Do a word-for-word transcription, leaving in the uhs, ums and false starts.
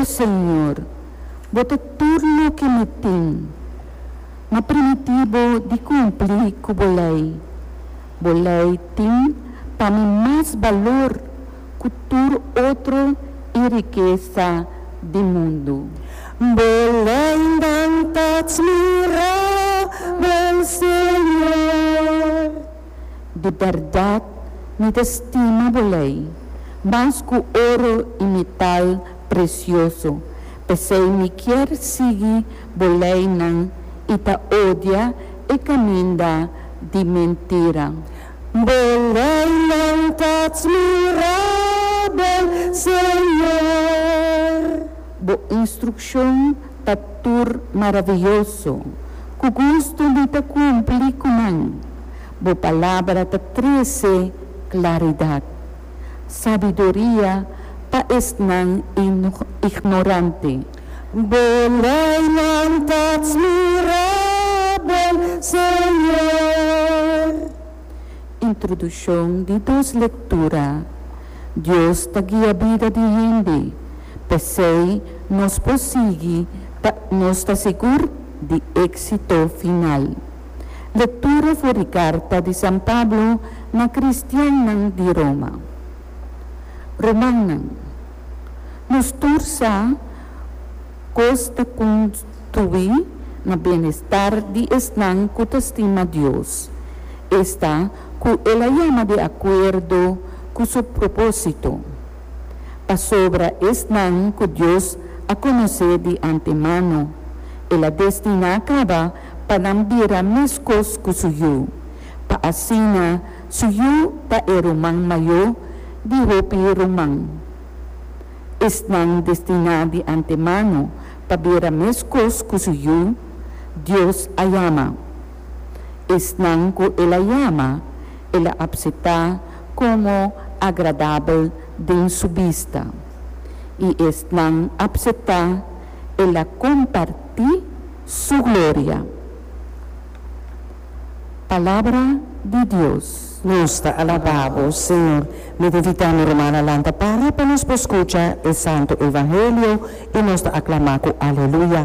O Señor, Bo ta tur loke mi tin. M'a primintí Bo di kumpli ku bo lei. Bo lei tin pa mi mas balor ku tur otro i rikesa di mundu. Bo leinan ta atmirabel, Señor. Di bèrdat mi ta stima bo lei, mas ku oro i metal presioso. P'esei mi kier sigui bo leinan i ta odia e kaminda di mentira. Bo leinan ta atmirabel, Señor. Bo instrukshon ta tur maravioso, ku gustu mi ta kumpli ku nan. Bo palabra ta trese klaridat, sabiduria pa esnan ignorante. Bo leinan ta atmirabel, Señor. Introdukshon di dos lektura. Dios ta guia bida di hende, p'esei nos por sigui ta nos ta sigur di éksito final. Lektura for di karta di San Pablo na kristiannan di Roma. Rumannan, nos tur sa kos ta kontribuí na bienestar di esnan ku ta stima Dios, esta ku El a yama di akuerdo ku su propósito. Pasobra esnan ku Dios a konosé di antemano, El a destiná kaba pa nan bira meskos ku su Yu, pa asina su Yu ta e ruman mayó di hopi ruman. Esnan destiná di antemano pa bira meskos ku su Yu, Dios a yama. Esnan ku El a yama, El a aseptá komo agradabel den su bista. I esnan aseptá, El a kompartí su gloria. Palabra di Dios. Nos ta alabá Bo, Señor. Mi ta invitá mi rumannan lanta para pa nos por skucha e Santu Evangelio i nos ta aklamá ku aleluya.